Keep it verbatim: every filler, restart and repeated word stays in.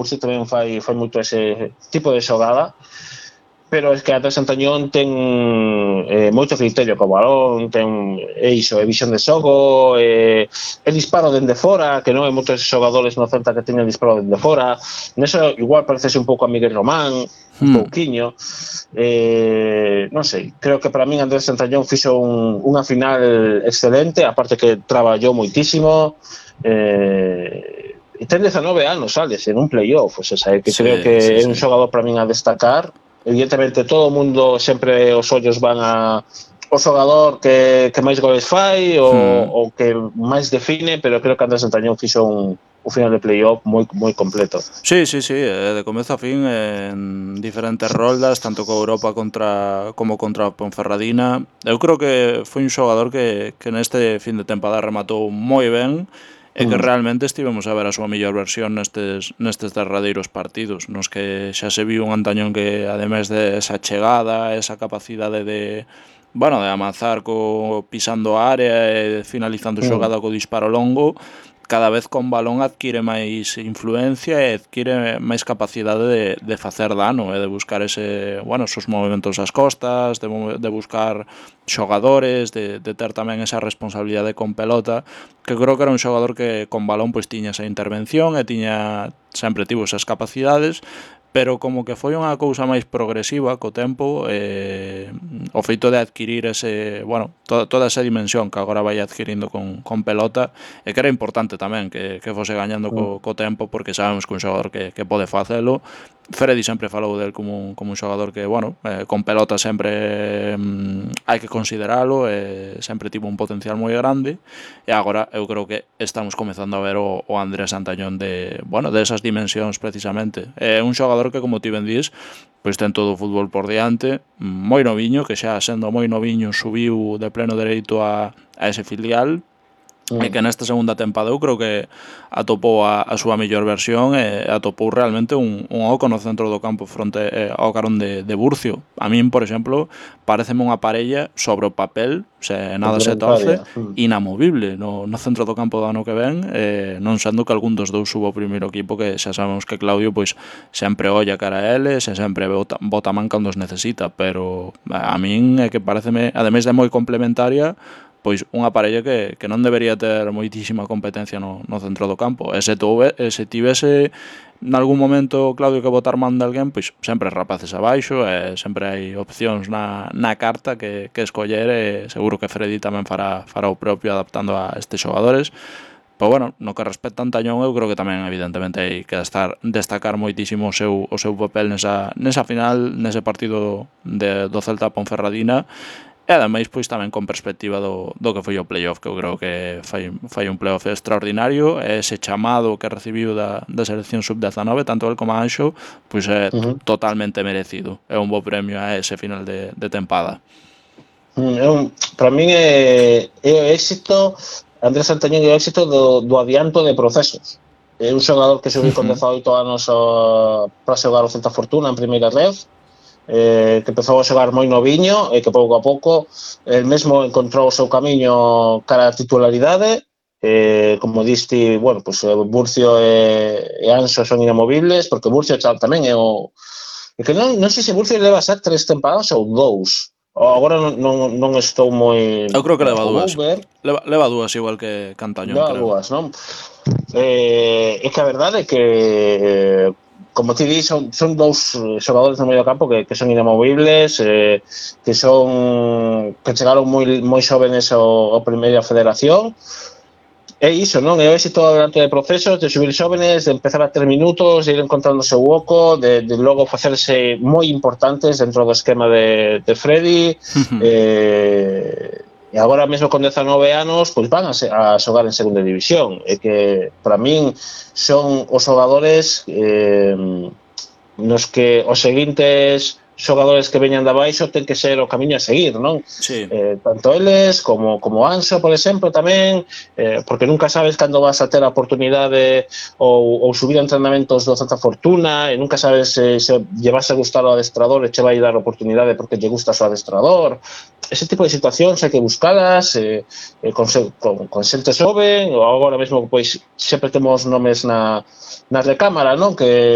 Burcio tamén fai, fai moito ese tipo de xogada, pero é que Andrés Santañón ten eh, moito criterio co balón, ten é iso, é visión de xogo, é, é disparo dende fora, que non hai moitos xogadores no Celta que teñen disparo dende fora. Neso igual parecese un pouco a Miguel Román, un Hmm. pouquiño. Eh, non sei, creo que para min Andrés Santañón fixo un, unha final excelente, aparte que traballou moitísimo. Eh, e ten dezanove anos, Alex, en un playoff, o sea, que Sí, creo que sí, é un sí. xogador para min a destacar. Evidentemente todo o mundo sempre os ollos van a o xogador que, que máis goles fai o, Hmm. o que máis define, pero creo que Andrés Santañón fixo un, un final de playoff moi moi completo. Sí, sí, sí, de comezo a fin en diferentes roldas, tanto co Europa contra como contra a Ponferradina. Eu creo que foi un xogador que, que neste fin de tempada rematou moi ben e que Mm. realmente estivemos a ver a súa mellor versión nestes, nestes derradeiros partidos, nos que xa se viu un Antañón que, ademais de esa chegada, esa capacidade de, bueno, de avanzar co pisando a área e finalizando Mm. xogada co disparo longo, cada vez con balón adquire máis influencia e adquire máis capacidade de, de facer dano e de buscar ese, bueno, esos movimentos ás costas, de, de buscar xogadores, de, de ter tamén esa responsabilidade con pelota, que creo que era un xogador que con balón pois tiña esa intervención e tiña sempre tivo esas capacidades, pero como que foi unha cousa máis progresiva co tempo, eh, o feito de adquirir ese, bueno, to, toda esa dimensión que agora vai adquirindo con, con pelota, e que era importante tamén que, que fose gañando co, co tempo, porque sabemos que un xogador que, que pode facelo. Freddy sempre falou del como un, como un xogador que, bueno, eh, con pelota sempre mm, hai que consideralo, e sempre tivo un potencial moi grande, e agora eu creo que estamos comezando a ver o, o Andrés Santañón de, bueno, de esas dimensións precisamente. É un xogador que, como ti ben dís, pois ten todo o fútbol por diante, moi noviño, que xa sendo moi noviño subiu de pleno dereito a, a ese filial, e que nesta segunda tempada eu creo que atopou a, a súa mellor versión e atopou realmente un, un oco no centro do campo fronte eh, ao carón de, de Burcio. A min, por exemplo, pareceme unha parella sobre o papel, se nada se torce, inamovible no, no centro do campo do ano que ven, eh, non sendo que algún dos dous subo ao primeiro equipo, que xa sabemos que Claudio pois sempre olla cara a eles e sempre bota, bota man cando os necesita, pero a min é que pareceme, ademais de moi complementaria, pois unha parella que, que non debería ter moitísima competencia no, no centro do campo. E se, tuve, se tivese nalgún momento Claudio que botar man de alguén, pois sempre rapaces abaixo, e sempre hai opcións na, na carta que, que escoller, e seguro que Freddy tamén fará, fará o propio adaptando a estes xogadores. Pois bueno, no que respecta a Antañón, eu creo que tamén evidentemente hai que estar, destacar moitísimo o seu, o seu papel nesa, nesa final, nese partido de, do Celta Ponferradina. E ademais pois tamén con perspectiva do, do que foi o playoff, que eu creo que fai, fai un playoff extraordinario, e ese chamado que recibiu da, da selección sub dezanove, tanto el como Anxo, pois é uh-huh. totalmente merecido. É un bo premio a ese final de, de tempada. Mm, é un, para min é, é o éxito, Andrés Santañón é o éxito do, do adianto de procesos. É un xogador que subiu con dezaoito anos o, para xogar o Celta Fortuna en primeira ref, Eh, que empezou a xogar moi noviño e que pouco a pouco el mesmo encontrou o seu camiño cara a titularidade. Eh, como diste, bueno, pues Burcio e, e Anxo son inamovibles, porque Burcio tamén é o é que non, non sei se Burcio leva xa tres tempadas ou dous, agora non, non, non estou moi... Eu creo que leva dúas leva, leva dúas igual que Cantañón, leva creo. dúas, non? Eh, é que a verdade é que eh, como ti di, son, son dous xogadores no medio campo que, que son inamovibles, eh, que son que chegaron moi, moi xóvenes ao, ao primeira federación. É iso, non? É o éxito durante de procesos, de subir xóvenes, de empezar a ter minutos, de ir encontrando o seu oco, de, de logo facerse moi importantes dentro do esquema de, de Freddy. eh, e agora mesmo con dezanove anos pois van a, a xogar en segunda división, e que para min son os xogadores eh, nos que os seguintes xogadores que veñan de abaixo ten que ser o camiño a seguir, non? Sí. Eh, tanto eles como, como Anxo, por exemplo, tamén, eh, porque nunca sabes cando vas a ter a oportunidade ou, ou subir a entrenamentos do Celta Fortuna, e nunca sabes se, se lle vas a gustar o adestrador e che vai dar a oportunidade porque lle gusta o adestrador. Ese tipo de situacións hai que buscalas eh, eh, con, con, con xente xoven, ou agora mesmo pois sempre temos nomes na, na recámara, non? Que